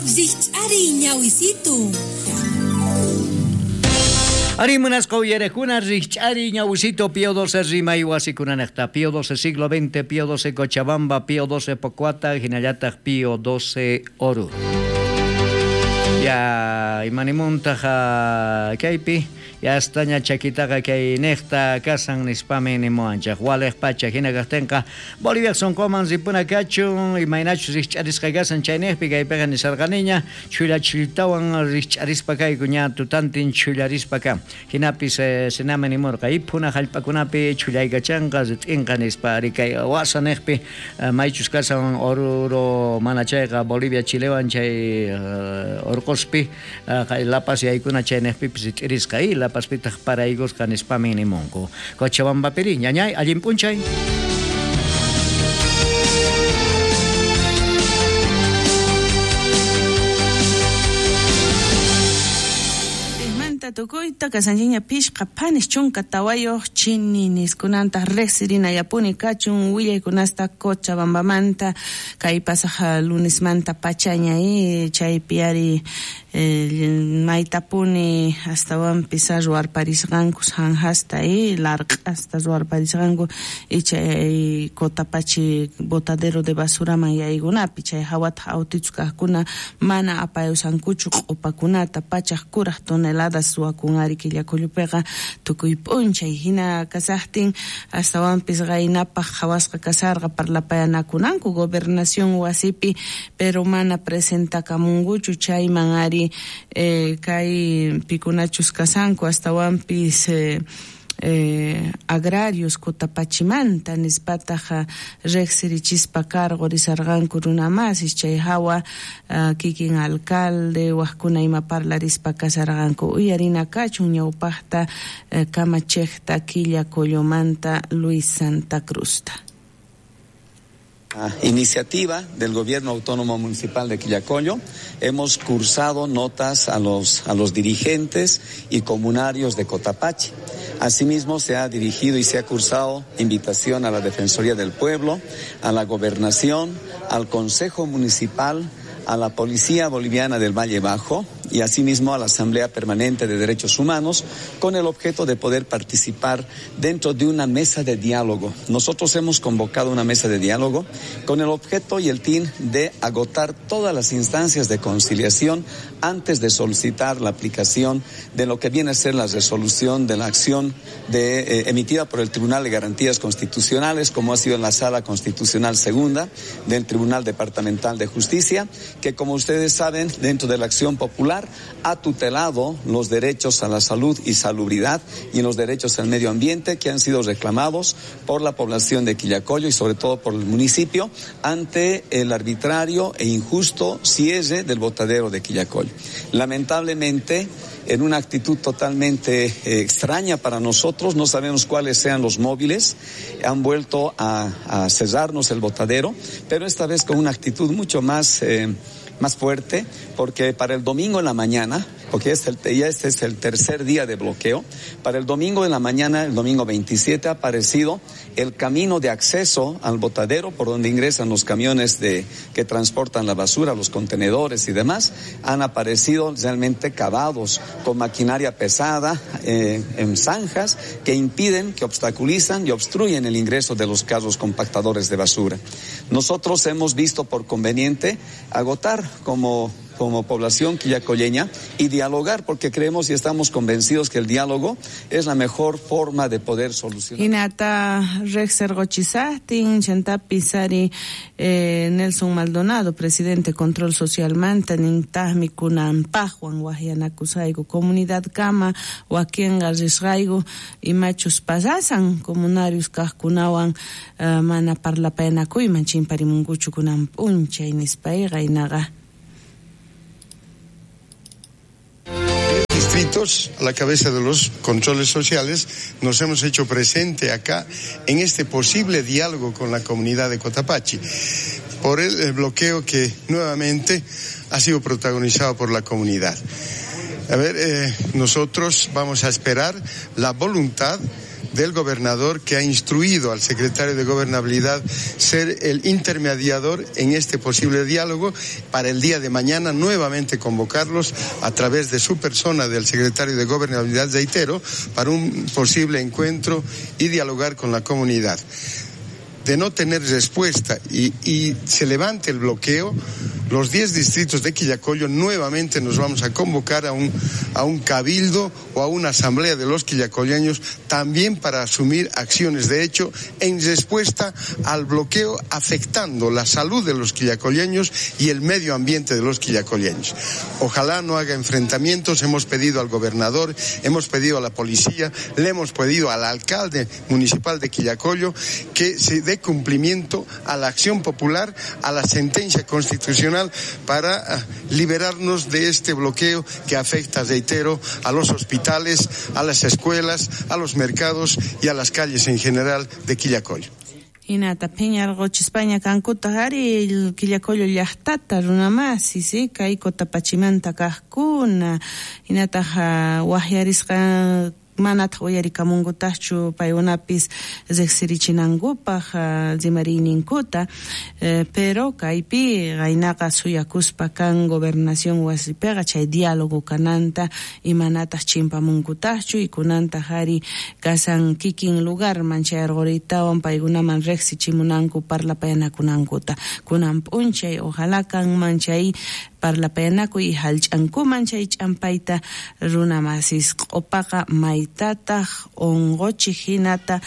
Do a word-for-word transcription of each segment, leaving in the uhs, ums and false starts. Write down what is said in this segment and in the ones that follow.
Rikch'ariy ñawisitu. Ari munasqa uyarekuna rikch'ariy ñawisito Pío doce rimay wasikunanejta Pío doce siglo veinte, Pío doce Cochabamba, Pío doce Pocuata, hinallataq Pío doce Oruro. Ya imanimuntaqa kaypi ya astaña chakitaqa kay nejta kasan nispami nimuanchaq waleq pacha hina kaqtinqa Bolivia sonqoman ripuna kachun imaynachus rikch'arisqa kasan chaynejpi kaypiqa nisarqaniña chullachilltawan rikch'arispa kayku ña tutantin chullarispa kan hinapis eh, sinami nimurqa iphuna hallp'akunapi chullaykachanqa rit'inqa nispa ari kay wasa nejpi eh, maychus kasan Oruro mana chayqa Bolivia Chilewan chay eh, orqospi uh, La Paz yaykuna chaynejpipis rit'irisqa y La Pazpitaq paraykusqa nispami nimunku. Cochabambapiri ñañay allin p'unchay. Tukuyta kasanchiña pishqa phanis chunka tawayuq chininis kunanta riqsirinayapuni kachun willaykunasta Cochabambamanta kay pasaq lunesmanta pachaña eh, chaypi ari eh, maytapuni astawanpis ruwarparisqanku sanjasta eh, larq'asta ruwarparisqanku y chay Cotapachi botadero de basuraman yaykunapi chay hawataq autichus kaqkuna mana apayusankuchu q'upakunata pachaq kuraq toneladas ruwakun ari Quillacollopiqa tukuy p'unchay hina kasaqtin astawanpis qaynapaq qhawasqa kasarqa parlapayanakunanku gobernación wasipi pero mana presentakamunkuchu chayman ari eh, kay pikunachus kasanku astawanpis eh, Eh, agrarios Cotapachimanta nispataqa riqsirichispa cargo risarqanku runamasis chay hawa uh, kikin alcalde waqkuna ima parlarispa kasarqanku uyarina kachun ñawpaqta eh, kamachejta Quillacollomanta Luis Santa Cruzta. Iniciativa del Gobierno Autónomo Municipal de Quillacollo, hemos cursado notas a los, a los dirigentes y comunarios de Cotapachi. Asimismo, se ha dirigido y se ha cursado invitación a la Defensoría del Pueblo, a la Gobernación, al Consejo Municipal, a la Policía Boliviana del Valle Bajo y asimismo a la Asamblea Permanente de Derechos Humanos con el objeto de poder participar dentro de una mesa de diálogo. Nosotros hemos convocado una mesa de diálogo con el objeto y el fin de agotar todas las instancias de conciliación antes de solicitar la aplicación de lo que viene a ser la resolución de la acción de, eh, emitida por el Tribunal de Garantías Constitucionales, como ha sido en la Sala Constitucional Segunda del Tribunal Departamental de Justicia, que como ustedes saben, dentro de la acción popular ha tutelado los derechos a la salud y salubridad y los derechos al medio ambiente que han sido reclamados por la población de Quillacollo y sobre todo por el municipio ante el arbitrario e injusto cierre del botadero de Quillacollo. Lamentablemente, en una actitud totalmente eh, extraña para nosotros, no sabemos cuáles sean los móviles, han vuelto a, a cerrarnos el botadero, pero esta vez con una actitud mucho más, eh, más fuerte, porque para el domingo en la mañana, porque este, ya este es el tercer día de bloqueo, para el domingo en la mañana, el domingo veintisiete, ha aparecido el camino de acceso al botadero por donde ingresan los camiones de, que transportan la basura, los contenedores y demás, han aparecido realmente cavados con maquinaria pesada eh, en zanjas que impiden, que obstaculizan y obstruyen el ingreso de los carros compactadores de basura. Nosotros hemos visto por conveniente agotar como como población quillacolleña y dialogar, porque creemos y estamos convencidos que el diálogo es la mejor forma de poder solucionar. Hinata rejsergochisahtin chantapi sari eh, Nelson Maldonado, presidente Control Social manta nintahmi kunanpajwan wahyanakusayku comunidad kama wakinqa risqayku imachus pasasan comunarios kaqkunawan uh, mana parlapayanakuyman chimparimunkuchu kunan p'unchay nispayqa inaqa. Distritos, a la cabeza de los controles sociales, nos hemos hecho presente acá en este posible diálogo con la comunidad de Cotapachi, por el, el bloqueo que nuevamente ha sido protagonizado por la comunidad. A ver, eh, nosotros vamos a esperar la voluntad del gobernador, que ha instruido al secretario de Gobernabilidad ser el intermediador en este posible diálogo para el día de mañana nuevamente convocarlos a través de su persona, del secretario de Gobernabilidad, reitero, para un posible encuentro y dialogar con la comunidad. De no tener respuesta y, y se levante el bloqueo, los diez distritos de Quillacollo nuevamente nos vamos a convocar a un, a un cabildo o a una asamblea de los quillacolleños también para asumir acciones de hecho en respuesta al bloqueo afectando la salud de los quillacolleños y el medio ambiente de los quillacolleños. Ojalá no haga enfrentamientos. Hemos pedido al gobernador, hemos pedido a la policía, le hemos pedido al alcalde municipal de Quillacollo que se dé cumplimiento a la acción popular, a la sentencia constitucional, para liberarnos de este bloqueo que afecta, reitero, a los hospitales, a las escuelas, a los mercados y a las calles en general de Quillacollo. Hinata phiñarquchispaña kankutaq ari Quillacollo llaqtata runamasi, si kay Cotapachimanta kaqkuna, hinataq waqyarisqa manataq uyarikamunkutaqchu paykunapis riqsirichinankupaq rimariyninkuta, eh, pero kaypi qaynaqa suyakuspa kan gobernación wasipiqa chay diálogo kananta y manataq chimpamunkutaqchu y kunantaq ari kasan kikin lugarman chay arquritawan paykunaman riqsichimunanku parlapayanakunankuta kunan p'unchay ojalá kanman chay parlapayanakuy y hallch'ankuman chay ch'ampayta runamasis q'upaqa maytataq unquchik hinata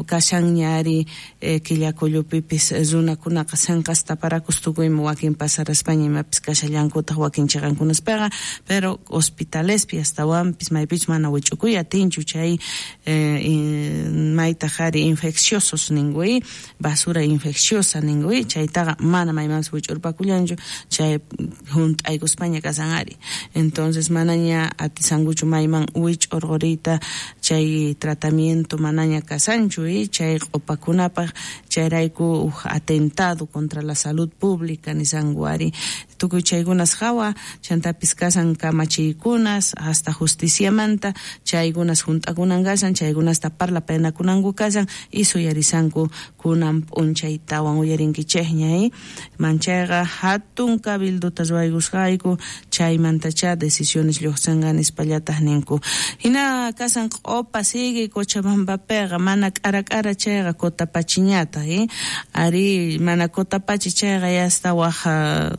kashanña ari Quillacollopipis runakunaqa sanqasta parakus tukuymi wakin pasaraspaña imapis kashallankutaq wakin chiqankunaspiqa, pero hospitalespi astawanpis maypichus mana wich'ukuy atinchu chay eh, maytaq ari infecciosos ninkuy, basura infecciosa ninkuy, chaytaqa mana maymanpis wich'urpakullanchu chay junt'aykuspaña kasan ari. Entonces manaña atisankuchu mayman wich'urquriyta chay tratamiento manaña kasanchu y chay q'upakunapaq chayrayku uj atentado contra la salud pública nisanku ari. Tukuy chaykunas hawa chantapis kasan kamachiykunas hasta justiciamanta chaykunas junt'akunan kasan chaykunasta parlapayanakunanku kasan y suyarisanku kunan p'unchaytawan uyarinkichikña eh? Manchayqa hatun cabildota ruwaykusqayku chaymantacha decisiones lluqsinqa nispallataq ninku. Hina kasan q'upa sigue Cochabambapiqa mana k'ara k'ara chayqa Cotapachiñataq eh? Ari mana Cotapachi chayqa yasta waj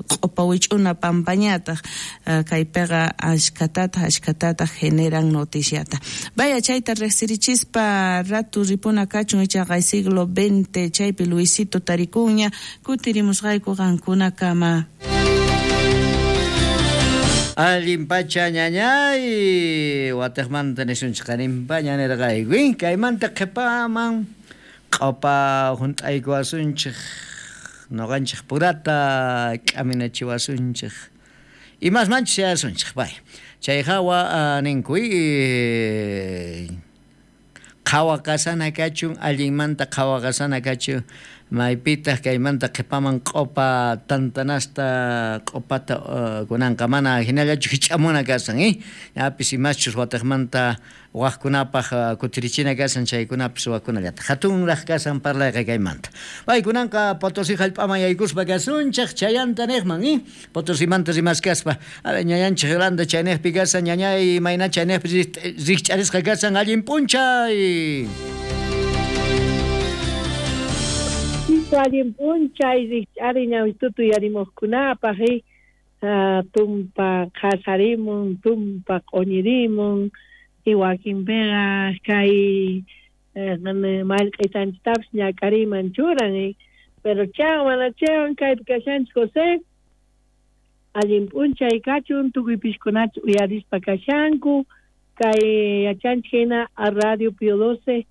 q'upa wich'una pampañataq kaypiqa ashkatataq ashkatataq generan noticiata. Vaya chayta riqsirichispa ratu ripuna kachun ichaqa siglo veinte chaypi Luisito tarikuña kutirimusqayku qankunakama. Allin pacha ñañay wataqmanta nisunchik qarinpaña nirqayku kaymanta qhipaman q'upa hunt'aykuwasunchik noqanchik purata k'aminachiwasunchik imasmanchus yasunchik bay chay hawa ninkuy qhawa kasana kachun allinmanta qhawa kasana kachun maypitaq kaymanta qhipaman q'upa tantanasta q'upata uh, kunanqa mana hinallachu hich'amuna kasan eh ñapis imaschus wataqmanta waqkunapaq uh, kutirichina kasan chaykunapis waqkunallataq hatunraq kasan parlayqa kaymanta bay kunanqa Potosí hallp'aman yaykuspa kasunchik chayanta niqman eh Potosimanta rimaskaspa ñañanchik Yolanda chayniqpi kasan ñañay mayna chayniqpi rikch'arisqa kasan allin p'unchay. Allin p'unchay rikch'ari ñawitutu yarimuqkunapaq tumpa qhasarimun tumpa q'uñirimun y wakinpiqa kay mallq'aytanchiktapis ñak'ariman churan pero chawan mana chawan kaypi kashanchik José allin p'unchay kachun tukuy pishkunachu uyarispa kashanku kay yachanchik hina a Radio Pío doce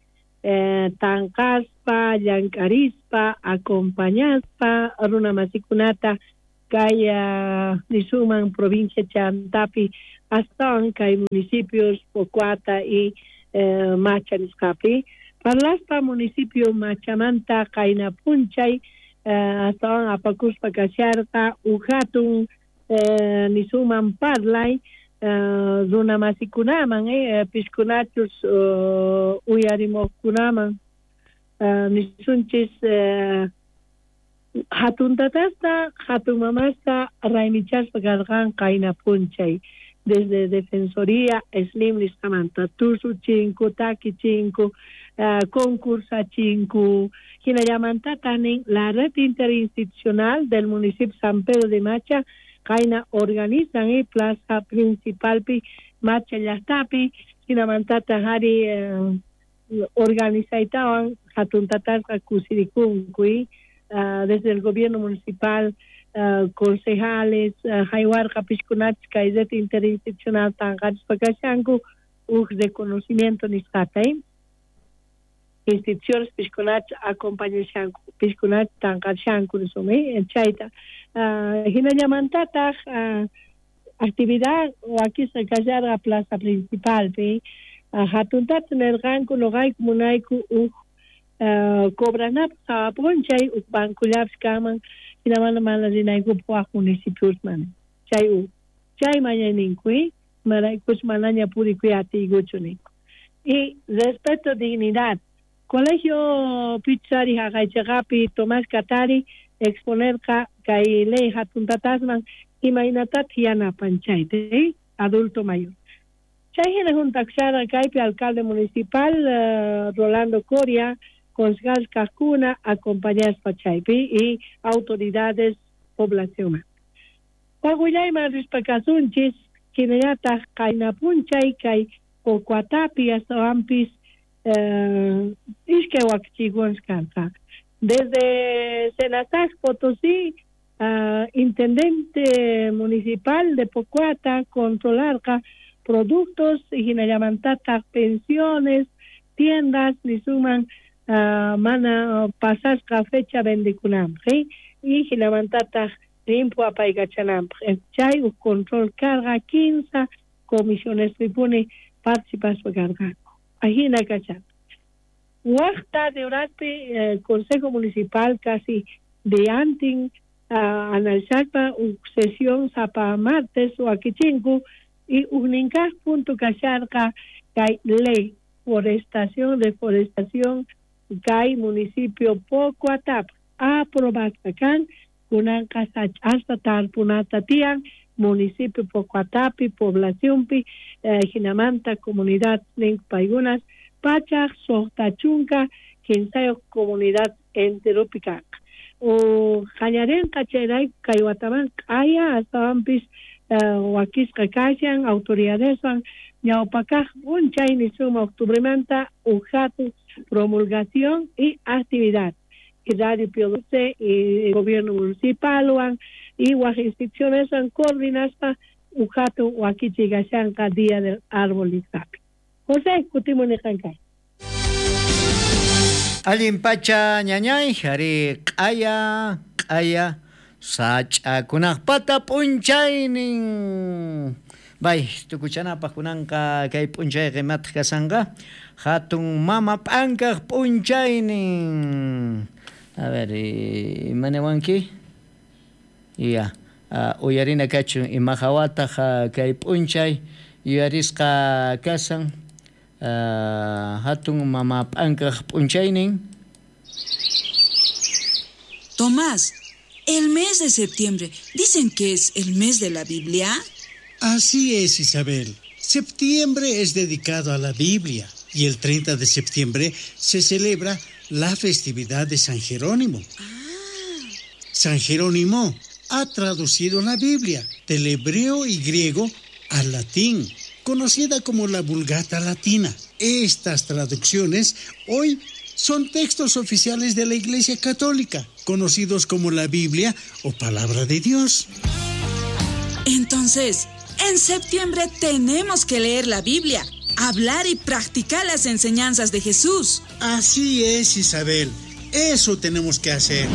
Eh, tanqaspa, llank'arispa, acompañaspa, runa masikunata kay uh, nisuman provincia chantapi astawan kay municipios Pocoata y eh, Macha nisqapi. Parlaspa municipio Machamanta qayna p'unchay eh, astawan apakuspa kasharqa uhatun eh, nisuman parlay uh, runa masikunaman eh, piskunachus uh, uyarimoqkunaman uh, nisunchis uh, hatun tatasta hatun mamasta raymichaspa karqan qayna p'unchay desde Defensoría Slim nisqamanta tusuchinku takichinku uh, concursachinku hinallamantata nin la red interinstitucional del municipio San Pedro de Macha qayna organizan eh, plaza principalpi Macha llaqtapi hinamantata ari eh, organizaytawan hatun tatasqa kusirikunku uh, desde el gobierno municipal uh, concejales uh, haywarqa pishkunachis kay red interinstitucional tanqarispa kashanku uj reconocimiento nisqata eh? Instituciones pishkunach acompañashanku pishkunach tanqarishanku nisum eh? Chayta uh, hinallamantataq uh, actividad wakisqa kasharqa plaza principalpi uh, hatuntata nerqanku noqayku munayku uj uh, cobranapaq sawa p'unchay uj bancollapis kanman hinamanta mana rinaykupaq waj municipiosman chay uj chay mañayninku eh? Imaraykuch manaña purikuy atiykuchu ninku y respeto dignidad Colegio Pichari haqaychaqapi Tomás Katari exponerqa kay ley hatun tatasman imaynatataq yanapan chayta eh? Adulto mayor. Chay hina juntakusharqa kaypi alcalde municipal uh, Rolando Coria concejal kaqkuna acompañaspa chaypi y autoridades poblacionman. Waqwillayman rispa kasunchis hinallataq qayna p'unchay kay Pocoatapi astawanpis uh, iskay wakichikunas karqa. Desde Senasac Potosí, uh, intendente municipal de Pocoata controlarqa productos hinallamantataq pensiones, tiendas nisuman uh, mana pasasqa fecha vendekunanpaq eh? Y hinamantataq limpu apaykachananpaq chay uj control karqa quince comisiones pipuni participaspa karqanku ajina kasharqa. Waqta de horaspi eh, Consejo Municipal casi de antin uh, analizaspa uj sesión sapa martes wakichinku y ujninkaq punto kasharqa kay ley forestación, deforestación kay municipio Pocoatapa aprobasqa kan kunanqa sach'asta tarpunata tiyan municipio Pocoatapi poblacionpi eh, hinamanta comunidad ninku paykunas pachaq suqta chunka kinsayuq comunidad enteropi kanqa o qallarinqa chayrayku kay wataman q'aya astawanpis uh, wakisqa kashan autoridadeswan ñawpakaq p'unchay nisuma octubremanta uj hatun promulgación y actividad y Radio Pío doce y gobierno municipalwan y waj institucioneswan coordinaspa uj hatun wakichiy kashanqa Día del Árbol nisqapi. José, kutimuni qankay. Allin pacha ñañay, ari q'aya, q'aya sach'akunaqpata p'unchaynin. Bay, tukuchanapaq kunanqa kay p'unchayqa imataq kasanqa hatun mama p'ankaq p'unchaynin. A ver, imaniwanki? Ya, uh, uyarina kachun ima hawataq kay p'unchay yuyarisqa kasan uh, hatun mama p'ankaq p'unchaynin. Tomás, el mes de septiembre, dicen que es el mes de la Biblia. Así es, Isabel. Septiembre es dedicado a la Biblia y el treinta de septiembre se celebra la festividad de San Jerónimo. Ah. San Jerónimo ha traducido la Biblia del hebreo y griego al latín, conocida como la Vulgata Latina. Estas traducciones hoy son textos oficiales de la Iglesia Católica, conocidos como la Biblia o Palabra de Dios. Entonces, en septiembre tenemos que leer la Biblia, hablar y practicar las enseñanzas de Jesús. Así es, Isabel. Eso tenemos que hacer.